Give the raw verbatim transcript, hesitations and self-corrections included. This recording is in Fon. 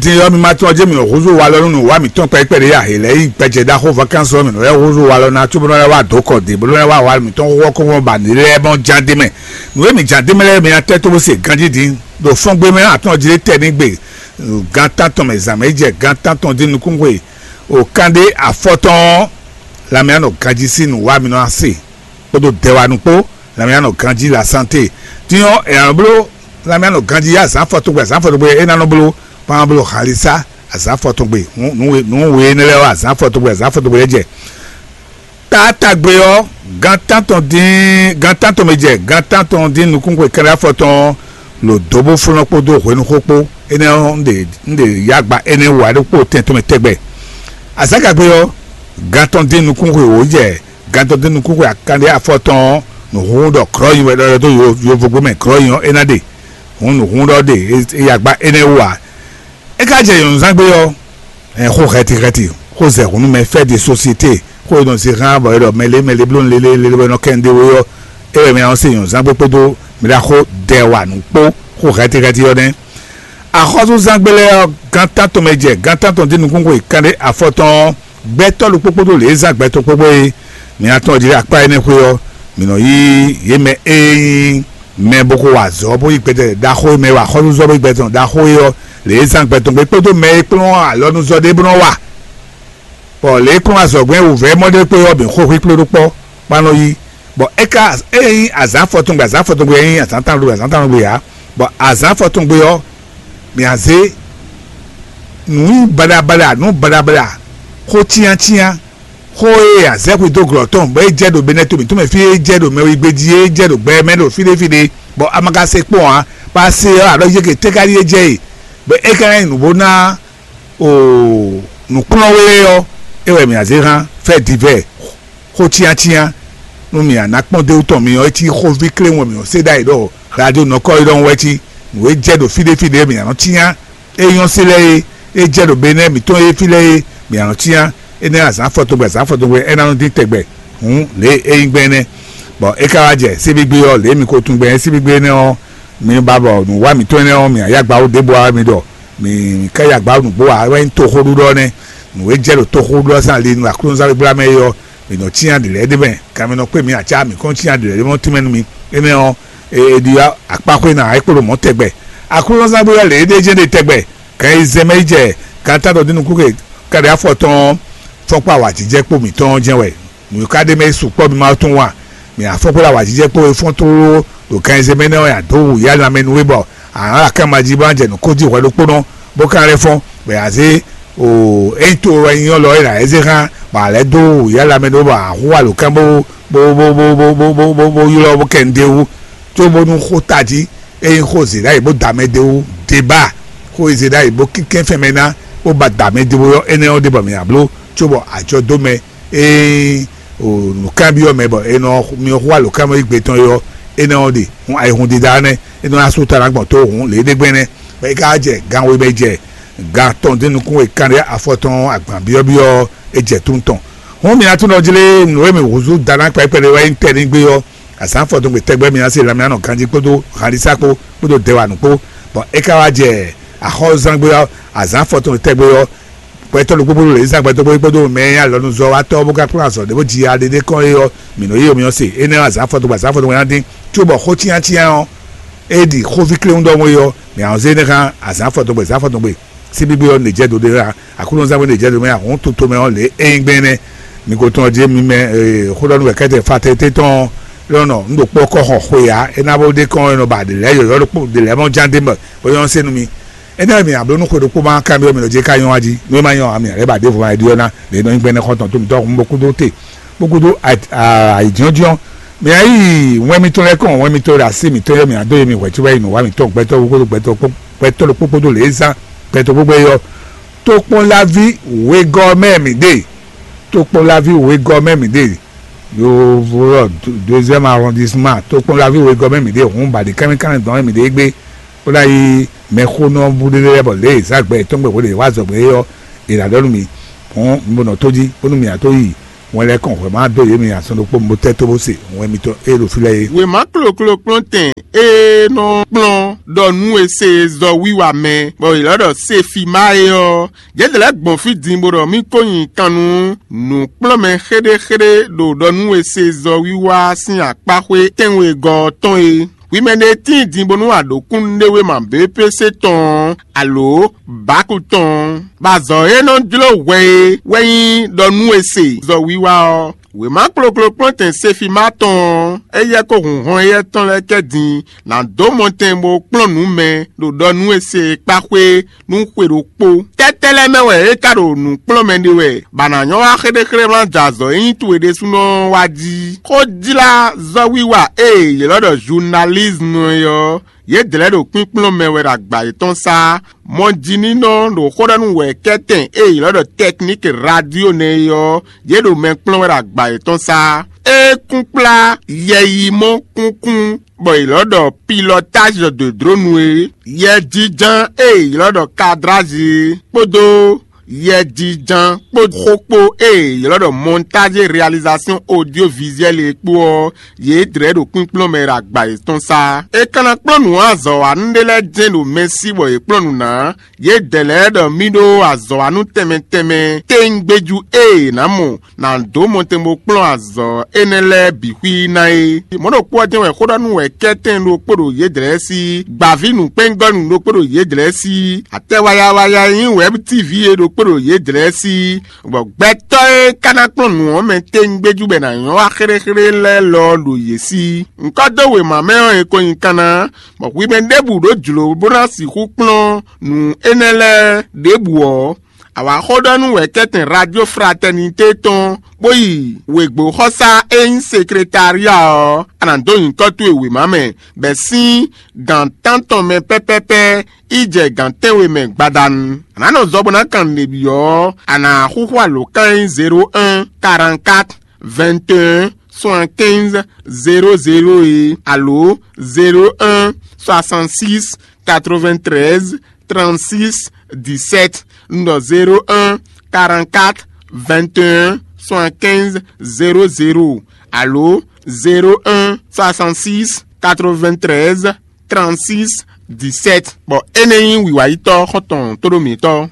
Din ɔ́, mi ma tunwun ɔ́, jɛ́n mǐ nɔ húzú walɔ nú nǔwa mǐtɔn kpɛɖé kpɛɖé ǎ. È lɛ̌ yi gbɛjɛ ɖaxó vakansi ɔ́, mǐ nɔ lɛ́ húzú walɔ ná, cóbónɔ lɛ́ wá dǒ kɔ dě, bó nɔ́ lɛ́ wá wa mǐtɔn xóxó kɔ́ bɔ nǔ lɛ́ɛ mɔ ján d'é mɛ. Nǔ e mǐ ján d'é mɛ lɛ́ɛ, mi ná tɛ́ tó bó se ganjí din ɖo fɔ́ngbé mɛ atɔ́ɔ́n jí lé tɛ ní gbe gan tántɔn mɛ zǎn mɛ yi jɛ gan tántɔn dín nukúnxwe o kanɖé afɔtɔn ɔ́, lanmɛ á nɔ ganjí sín nǔwa mǐ nɔ ná se kpódó dɛwanu kpó. Lanmɛ á nɔ ganjí la santé. Din ɔ́, è nǎ nɔ bló lanmɛ á nɔ ganjí azǎn afɔtɔn gbe, azǎn afɔtɔn gbe é ná nɔ bló kpán bló xalisá azǎn afɔtɔn gbe. Nǔ we énɛ́ lɛ́ɛ ɔ́, azǎn afɔtɔn gbe, azǎn afɔtɔn gbe é jɛ. Taátagbe ɔ́, gan tántɔn dín gan tántɔn mɛ jɛ gan tántɔn dín nukúnxwe kɛ́ɖɛ́ afɔtɔn ɔ́, lǒ dó bó flɔ́n kpódó hwenuxó kpó. Énɛ́ ɔ́, un ɖe un ɖe yǎgba énɛ́ wú ǎ ɖokpó tɛn tɔn mɛ tɛgbɛ. Azǎngagbe ɔ́, gan tɔn dín nukúnxwe wǒ jɛ gan tɔn dín nukúnxwe akanɖé afɔtɔn ɔ́, nǔhúnhún ɖɔ krɔ́ nyi wɛ ɖɔ dó yovogbó mɛ krɔ́ nyi ɔ́, é ná ɖe. Hǔn nǔhúnhún ɖɔ ɖe é yǎgba énɛ́ wú ǎ. É ka jɛ nyɔ̌nuzángbe ɔ́, ɛn xó hɛtihɛti, xó zɛ hǔn nú mɛ, fɛ́ de sosiete, xó e nɔ zé hán bɔ è ɖɔ mɛ lě mɛ lě bló lélé lélé bɔ è nɔ kɛ nǔɖé wé ɔ́, é wɛ mɛ ɔ́ se nyɔ̌nuzángbe kpódó mɛ ɖaxó dɛ wa nǔ kpó. Xó hɛtihɛti ɔ́ nɛ́. Axɔ́súzángbe lɛ́ɛ ɔ́, gán tántɔn mɛ jɛ gán tántɔn dín nukúnxwe kanɖé afɔtɔn ɔ́, gbɛtɔ́ ɖokpó kpódó lě e zán gbɛtɔ́ kpókpó é mi ná tɔ́n jí ɖo akpá énɛ́ xwé ɔ́, mǐ nɔ yí yě mɛ e nyí mɛ bó ko wa azɔ̌ bó yí gbɛtɔ́ ɖaxó e mɛ wa xɔ́súzɔ́ bó yí gbɛtɔ́ ɖaxó é ɔ́, lě e zán gbɛtɔ́ gbé kpódó mɛ e kplɔ́n alɔnuzɔ́ ɖé bó nɔ́ wa, bɔ lě e kplɔ́n azɔ̌gbɛ́n wǔvɛ́ mɔ ɖé kpé ɔ́ bǐ xo xwíkplé ɖó kpɔ́ kpán nɔ yí. Bɔ é ka é nyí azǎn afɔtɔngbe, azǎn afɔtɔngbe ɔ́ nyí azǎn tánɖogbe, azǎn tánɖogbe ǎ. Bɔ azǎn afɔtɔngbe ɔ́, mǐ á zé nǔ nyi baɖabaɖa, nǔ baɖabaɖa, xó cyáncyán, xó e a zɛ xwedó glɔ̌ tɔn, bɔ é jɛ ɖo Benɛ́to mǐtɔn mɛ fí, é jɛ ɖo mɛwigbe jí, é jɛ ɖo gbɛ mɛ ɖo fí ɖé fí ɖé, bɔ a ma ka se kpɔ́n ǎ, bɔ a se ɔ́, a ɖɔ yě ke tɛ́ ká ɖíe jɛ e, bɔ é ka ná nyí nǔ bó ná o nǔkplɔ́nwe ɔ́, é wɛ mǐ a zě hán fɛ́ divɛ́ xó cyáncyán, nú mǐ a nǎ kpɔ́n d'é wú tɔn mi ɔ́, é cí xóví kléwún wɛ mǐ nɔ sé ɖ'ayǐ ɖɔ radio nɔkɔ é ɖɔhun wɛ cí nǔ e jɛ ɖo fí ɖé fí ɖé mǐ a nɔ cyán. É nyɔ́ sí lɛ́ɛ é, é jɛ ɖo Benɛ́ɛ mǐtɔn é fí lɛ́ɛ é, mǐ a nɔ cyán. Énɛ́ azǎn afɔtɔngbe, azǎn afɔtɔngbe é ná nɔ dín tɛgbɛ hǔn lě e é nyí gbɛn énɛ́. Bɔ é ka wá jɛ síbígbé ɔ́, lě e mi ko tunwun gbɛn síbígbé énɛ́ ɔ́, mi ba bɔ nǔwá mǐtɔn énɛ́ ɔ́, mǐ a yá gba wú ɖěbǔ ǎ mi ɖɔ mǐ ká yá gba wú nǔgbó ǎ, wɛ nyí toxóɖuɖɔ nɛ́. Nǔ e jɛ ɖo toxóɖuɖɔ sín ali nú aklúnɔzán gbégbégbla mɛ é ɔ́, mǐ nɔ cyán ɖě lɛ́ɛ ɖé mɛ, kan mɛ nɔ kpé mǐ acá mǐ kɔn cyán ɖě lɛ́ɛ ɖé mɔ tínmɛ nú mi. Énɛ́ ɔ́, e ɖi akpáxwé ná é kpo ɖo mɔ̌ tɛgbɛ. Aklúnɔzán gbégbégbla lě é ɖe jɛ́n ɖe tɛgbɛ, kan e zɛ mɛ yi jɛ kan tántɔn dín nukún ke káɖí afɔ tɔn ɔ́, fɔ́nkpá awǎjijɛ kpó mǐtɔn ɔ́ jɛ́n wɛ. Nǔ e ka ɖ'é mɛ é sukpɔ́ mi ma tunwun a? Mǐ a fɔ́n xwé ɖo awǎjijɛ kpó e fɔ́n tlóló ɖo kan e zɛ mɛ nɛ́ ɔ́, nyi adǒ wǔ yá lanmɛ nú we bɔ a nǎ ɖo akánma jí bó ná jɛ nǔ kó jí hwɛ ɖokpónɔ, bó ka lɛ́ fɔ́n, bɔ è nǎ zé o ényí to wɛ nyí ɔ́ lɔ é nǎ lɛ́ zé xá, bɔ a lɛ́ dó wǔ yá lanmɛ ɖó bɔ a hú alǒkan bó bó bó ylɔ́ bó kɛ nǔɖé wú, cóbónú xó tají ényí xó zě ɖ'ayǐ bó da mɛ d'é wú, debá xó e zě ɖ'ayǐ bó kínkɛ́n fɛn mɛ ná, bó ba da mɛ d'é wú ɔ́, énɛ́ ɔ́ ɖe bɔ mǐ ná bló, cóbɔ ajɔ dó mɛ ée o nǔkanbyɔ́ mɛ bɔ è nɔ myɔ xó alǒkanmɔ yi gbe tɔn é ɔ́, énɛ́ ɔ́ ɖe hun ayihun dídá nɛ́, é nɔ ná sú ta ná gbɔn tó hǔn lě ɖé gbɛn nɛ́, bɔ é ka jɛ gan we mɛ jɛ gan tɔn dín nukún e kanɖé afɔ tɔn agban byɔ́byɔ́ ɔ́, é jɛ tún tɔn. Hǔn mi atúnɔ jlé nǔ e mi húzú da ná kpɛ́kpɛ́ ɖé wɛ nyí tɛ́ ní gbé ɔ́, azǎn afɔtɔngbe tɛgbɛ mi ná se lanmɛ anɔ ganjí kpódó hanlísá kpó kpódó dɛwanu kpó, bɔ é ka wá jɛ axɔ́zángbé ɔ́, azǎn afɔtɔngbe tɛgbɛ ɔ́, gbɛtɔ́ ɖokpó kpódó lězán gbɛtɔ́ kpódó kpódó mɛ e nyí alɔnuzɔ́watɔ́ bó ka kplɔ́n azɔ̌ ɖé bó ji aɖéɖé kɔn é ɔ́, mǐ nɔ yí omyɔ se. Énɛ́ ɔ́, azǎn afɔtɔgbe azǎn afɔtɔgbe ná dín, cóbɔ xó cyáncyán ɔ́, é ɖi xóví kléwún ɖɔhun é ɔ́, mǐ a nɔ zé énɛ́ xá azǎn afɔtɔgbe azǎn afɔtɔgbe síbígbé ɔ́ nǐ jɛ do ɖé xá. Aklúnɔzán bó nǐ jɛ do mɛ ahɔ̌n toto mɛ ɔ́ lě é nyí gbɛn énɛ́. Mi ko tɔn ɔ́ jí mi mɛ xó ɖɔ nú wɛ kɛ́tɛ fa tɛ́tɛ́ tɔn ɔ́, lɔnɔ un ɖo kpɔ́ kɔ xɔ xwe ǎ, é ná bó ɖé kɔn é nɔ ba ɖě lɛ́ɛ yɔ̌yɔ́ ɖokpó ɖě lɛ́ɛ mɔ ján d'é mɛ bó nyɔ́ sé nú mi. Énɛ́ wɛ mǐ a bló nú xwe ɖokpó ma kanbyɔ́ mì nɔ jɛ ká nyɔ́ wá jí, nú é ma nyɔ́ ǎ, mǐ a lɛ́ ba ɖěvo ma ɖi ɔ́ ná, lě e nɔ nyí gbɛ́nɛ́ xɔ́ntɔn tó mǐtɔn hun bó kú dó te, bó kú dó ayǐjínjɔ́n. Mǐ a yí wɛn mitɔn lɛ́ɛ kɔn, wɛn mitɔn ɖo así mǐtɔn yɔ́ mǐ a dó yě mì hwɛ̌ cóbɔ yi nǔ wa mǐtɔn gbɛtɔ́ kpódó gbɛtɔ́ gbɛtɔ́ ɖokpó kpódó lě e zán gbɛtɔ́ gbogbo é ɔ́. Tokpɔnlaví wegɔ́ mɛ mǐ ɖe, tokpɔnlaví wegɔ́ mɛ mǐ ɖe, yovo lɔ deuxième arrondissement, tokpɔnlaví wegɔ́ mɛ mǐ ɖe, hǔn ba ɖi kánmɛkánmɛ dɔn mɛ mǐ ɖe gbé. Bó ná yi mɛxónɔ búɖéɖé lɛ́ɛ bɔ lě e è zǎn gbɛ yětɔn gbe hwelě e è wá azɔ̌ gbé é ɔ́, è nǎ ɖɔ nú mi, hǔn mi bo nɔ tó jí, bónú mi ná tó yi Wɛn lɛ́ɛ kɔn hwɛ̌ ma dó yě mi azɔn ɖokpó bó tɛ́ tó bó se wɛn mitɔn e ɖo fí lɛ́ɛ é. Wěma kloklokplɔ́ntɛn e nɔ kplɔ́n ɖɔ nú e se zɔ wiwa mɛ, bɔ è lɔ́ ɖɔ Sefima é ɔ́, yě lɛ́ gbɔn fí din bó ɖɔ mì ko nyi kan nú nǔkplɔ́nmɛ xéɖéxéɖé ɖo ɖɔ nú e se zɔ wiwa sín akpáxwé tɛ́nwegɔ́ ɔ́ tɔn é. Hwi mɛ ɖé tíin din bónú a ɖǒ kúnnuɖéwéma B P C tɔn ɔ́, alǒ Baku tɔn ɔ́, bɔ azɔ̌ e nɔ jló hwɛ é wɛ nyí ɖɔ nú e se zɔ wiwa ɔ́. Wěma kloklokplɔ́ntɛn Sefima tɔn ɔ́, éyɛ́ kó hun hɔn éyɛ́ tɔn lɛ́ɛ kɛ din ná dó mɔtɛn bó kplɔ́n nǔ mɛ ɖo ɖɔ nú e se e kpá xwé nú xwe ɖokpó. Tɛ́tɛ́ lɛ́ɛ mɛ wɛ é ka ɖo nǔ kplɔ́n mɛ ɖe wɛ, bɔ a nǎ nyɔ́ wá xéɖéxéɖé ma jɛ azɔ̌ e nyí towe ɖésúnɔ ɔ́ wá jí. Xójlázɔ́wiwa e è ylɔ́ ɖɔ journalisme é ɔ́, yědɛɛ lɛ́ɛ ɖo kpínkplɔ́n mɛ wɛ ɖo agba yětɔn sá. Mɔjínínɔ ɖo xó ɖɔ nú wɛ̌kɛ́tɛn e è ylɔ́ ɖɔ technique radio nɛ́ é ɔ́, yě ɖo mɛ kplɔ́n wɛ ɖo agba yětɔn sá. É kún kplá yɛyimɔ kúnkún bɔ è ylɔ́ ɖɔ pilotage de drone é, yɛjiján e è ylɔ́ ɖɔ cadrage é, kpódó yɛjiján kpó xó kpó e è ylɔ́ ɖɔ montage et réalisation audiovisuelle é kpó ɔ́, yě dlɛ̌ ɖo kpínkplɔ́n mɛ ɖo agba yětɔn sá. È ka ná kplɔ́n nǔ azɔ̌wanú ɖé lɛ́ɛ jɛ́n ɖo mɛ sí bɔ yě kplɔ́n nǔ ná. Yědɛɛ lɛ́ɛ ɖɔ mì ɖó azɔ̌wanú tɛnmɛ tɛnmɛ téŋgbéjú e è nǎ mɔ nǎ dó mɔtɛn bó kplɔ́n azɔ̌ énɛ́ lɛ́ɛ bǐ xwí ná é. Mɔ̌ ɖokpó ɔ́ jɛ́n wɛ xó ɖɔ nú wɛ̌kɛ́tɛn ɖokpó ɖo yědɛɛ sí, gbǎví nǔkpɛ́ngɔ́nú ɖokpó ɖo yědɛɛ sí, atɛwayawaya e nyí wɛ̌b tívi é ɖokpó ɖo yědɛɛ sí, bɔ gbɛtɔ́ e ka ná kplɔ́n nǔ ɔ́ mɛ téŋgbéjú bɔ è nǎ nyɔ́ wá xéɖéxéɖé lɛ́ɛ lɔ ɖo yě sí. Ŋkɔ́ dó wěma mɛ ɔ́, è ko nyi kan ná, bɔ hwi mɛ ɖěbǔ ɖó jlǒ bó ná sixú kplɔ́n nǔ énɛ́ lɛ́ɛ ɖěbǔ ɔ́, a wǎ xó ɖɔ nú wɛ̌kɛ́tɛn Radio Fraternité tɔn, bó yi wěgbóxɔsá e nyí sekretária ɔ́, a nǎ dó nyǐkɔ towe wěma mɛ, bɔ è sín gǎn tántɔn mɛ pɛ́pɛ́pɛ́ yi jɛ gǎn tɛ́nwe mɛ gbadanu. A nǎ nɔ zɔ bó ná kan nǔɖé byɔ́ ɔ́, a nǎ xúxú alǒkan e nyí zéro un, quarante-quatre, vingt et un, soixante-quinze, zéro zéro é, alo zéro un, soixante-six, quatre-vingt-treize, trente-six, dix-sept, un ɖɔ zéro un, quarante-quatre, vingt et un, soixante-quinze, zéro zéro, alo zéro un, soixante-six, quatre-vingt-treize, trente-six, dix-sept. Bɔ énɛ́ nyí wǐwáyítɔ́ xɔ́ntɔn tóɖó mǐtɔn.